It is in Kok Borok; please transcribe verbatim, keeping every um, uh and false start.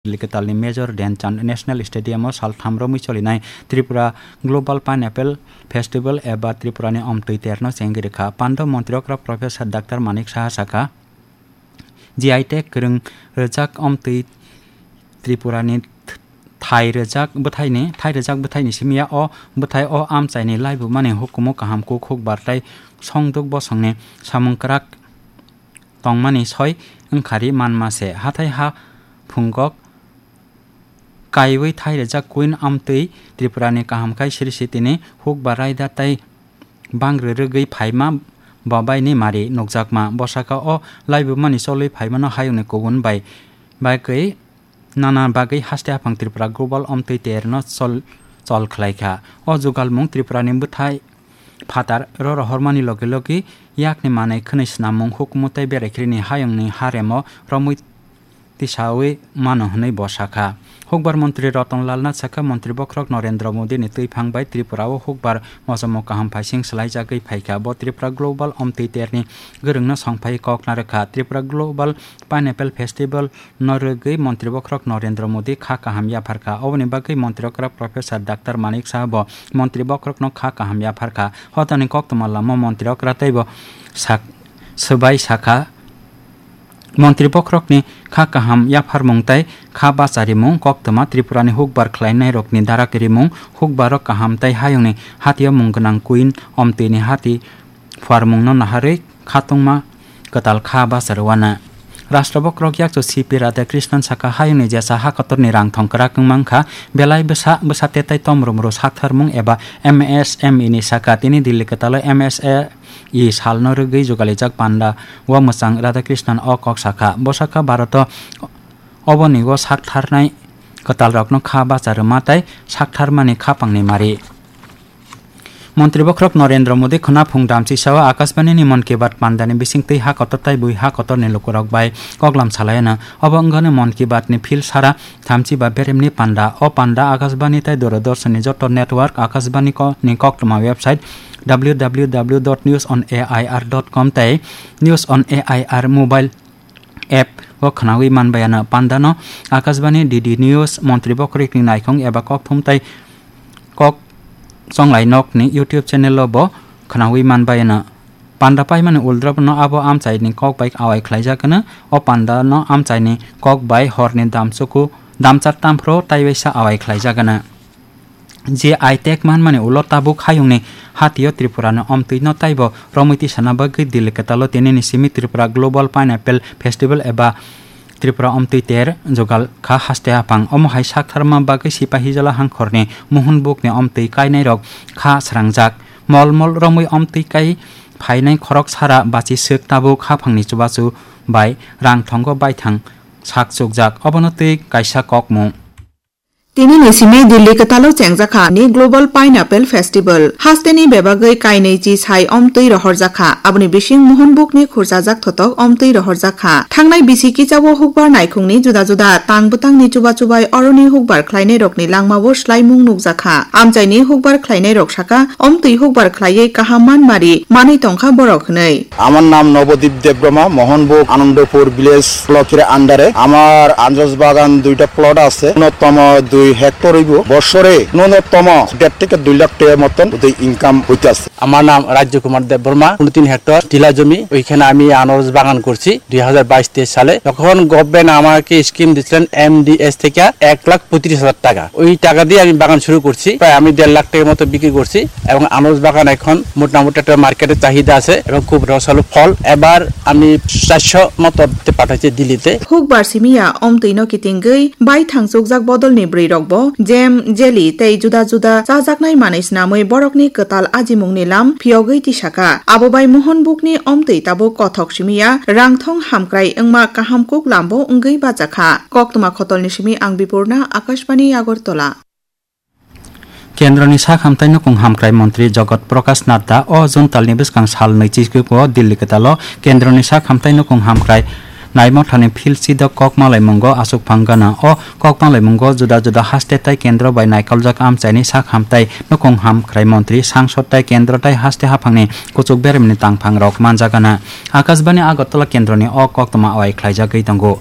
Delhi kwtalni Major Dhyan Chand National Stadium o saltham romwi cholinai Tripura Global Pineapple Festival eba Tripurani omtwi terno chengwi rwkha. Pando montri okra Professor Doctor Manik Saha sakha, G I tag kwrwng rwjak omtwi Tripurani thai rwjak bwthaini, thai rwjak bwthaini simi ya o bwthai o amchaini laibumani hukumu kaham kuk hukbar tei songduk bosongni samung kwrak tongmani soi wngkhari manma se. Hathai ha phungok kaiwi thai rwjak Queen amtwi Tripurani kaham khai siri sitini hukbar raida tei bang rwrwgwi phaima bo baini mari nukjakma. Bosaka o laibumani cholwi phaimano hayungni kubun bai bagwi nana bagwi haste haphang Tripura Global omtwi terno chol, chol khlaikha. O jugalmung Tripurani bwthai phatar ro rohormani logi logi yakni manwi khwnwi snamung hukumu tei berekhrini hayungni haremo romwi tisawi mano hwnwi bo sakha. Hukbar montri Ratan Lal Nath sakha, montri bokhorok Narendra Modi ni twiphang bai Tripura o hukbar mosomo kaham phaising swlaijagwi phaikha. Bo Tripura Global omtwi terni gwrwngno songphai kok narwkha. Tripura Global Pineapple Festival no rwgwi montri bokhorok Narendra Modi kha kaham yapharkha. Oboni bagwi montri okra Professor Doctor Manik Saha bo montri bokhorokno kha kaham yapharkha. Hotani koktwma lama montri okra teibo sak-, swbai sakha, montri bokhorokni kha kaham yapharmung tei kha bacharimung koktwma Tripurani hukbar khlainairokni darak rimung, hukbaro kaham tei hayungni hatio mung gwnang Queen omtwini hati phuarmungno naharwi khatungma kwtal kha bachar wana. Rashtra bokhorok yakchu C P Radhakrishnan saka, hayungni jesa ha kotorni rang thong kwrak wng mankha, belai bwsa, bwsa tetai tomrumru saktharmung eba M S M E ni saka. Tini Delhi kwtalo M S M E salno rwgwi jugalijak panda o mwchang Radhakrishnan o kok sakha. Bo sakha, Bharoto oboni o saktharnai kwtalrokno kha bacha rwma tei saktharmani khapangni mari. Montri bokhorok Narendra Modi khwnaphung damchisao Akashbani ni Mann Ki Baat pandani bisingtwi ha kotor tai bui ha kotorni lukurok bai koklam salaiyana. Obo wngkha Mann Ki Baat ni phil sara thamchi ba beremni panda. O panda Akashbani tai Doordarshan ni joto network Akashbani ko-, ni koktwma website W W W dot news on A I R dot com tai News on A I R mobile app o khwnawi manbai ano. Pandano Akashbani, D D News, Montri Bokhorikni Naikhong eba Kokthum tai Kok Chonglai Nokni YouTube channel o bo khwnawi manbai ano. Panda paimani uldrobno abo amchaini kok bai awai khlaijak ano. O pandano amchaini kok bai horni damchuku damchar tamphro taiwaisa awai khlaijak ano. G I tag manmani ulo tabuk hayungni hatio Tripurani omtwino taibo romwi tisana bagwi Delhi kwtalo tinini simi Tripura Global Pineapple Festival eba Tripura omtwi ter jugal kha haste haphang. Omo hai saktharma bagwi Sipahijala hangkhorni Mohonbukni omtwi kainairok kha srangjak. Mol mol romwi omtwi kai phainai khorok sara bachi swk tabuk haphangni chubachu bai rang thongo baithang sak chukjak. Obono twi kaisa kokmung. Tinini simi Delhi kwtalo chengjakha ni Global Pineapple Festival. Hasteni bebagwi kainwi chi sai omtwi rohorjakha. Aboni bising Mohonbukni khurchajak thotok omtwi rohorjakha. Thangnai bisi kichao hukbar naikhungni juda juda tang bwtangni chuba chubai oroni hukbar khlainairokni langmao swlaimung nukjakha. Amchaini hukbar khlainairok saka, omtwi hukbar khlaiwi kaham manmari manwi tongkha borok hwnwi. আমার নাম নবদ্বীপ দেববর্মা, মোহনভোগ আনন্দপুর ভিলেজ ব্লকের আন্ডারে। আমার আনারস বাগান দুইটা প্লট আছে, ন্যূনতম দুই হেক্টর হইব। বছরে ন্যূনতম দেড় থেকে দুই লাখ টাকার মতন ওদের ইনকাম হইতে আছে। আমার নাম রাজ্য কুমার দেববর্মা, উনত্রিশ হেক্টর টিলা জমি, ওইখানে আমি আনারস বাগান করছি দুই হাজার বাইশ তেইশ সালে। তখন গভর্নমেন্ট আমাকে স্কিম দিচ্ছিলেন এমডিএস থেকে এক লাখ পঁয়ত্রিশ হাজার টাকা। ওই টাকা দিয়ে আমি বাগান শুরু করছি, প্রায় আমি দেড় লাখ টাকার মতো বিক্রি করছি। এবং আনারস বাগান এখন মোটামুটি একটা মার্কেটে চাহিদা আছে এবং খুব রসালো ফল। এবার আমি চারশো মতো পাঠাচ্ছি দিল্লিতে। Hukbar simi ya omtwi no kitingwi bai thangchukjak bodol ni bwrwi rok bo jam, jelly tei juda juda chajaknai manwi swnamwi borokni kwtal ajimungni lam phiyogwi tisakha. Abo bai Mohonbukni omtwi tabuk kothok simi ya rangthong hamkrai wngma kaham kuk lambo wngwi bachakha. Koktwma khotolni simi ang Bipurna, Akashbani Agartala. Kendroni sak hamtai nukung hamkrai montri Jagat Prakash Nadda o June talni bwskang sal nwichikgo Delhi kwtalo kendroni sak hamtai nukung hamkrai naimothani phil sidok kok malaimungo achukphang gana. O kok malaimungo juda juda haste tai kendro bai naikoljak amchaini sak hamtai nukung hamkrai montri, sangsod tai kendro tai haste haphangni kuchuk beremni tangphangrok manjagana. Akashbani Agartala kendroni o koktwma awai khlaijagwi tongo.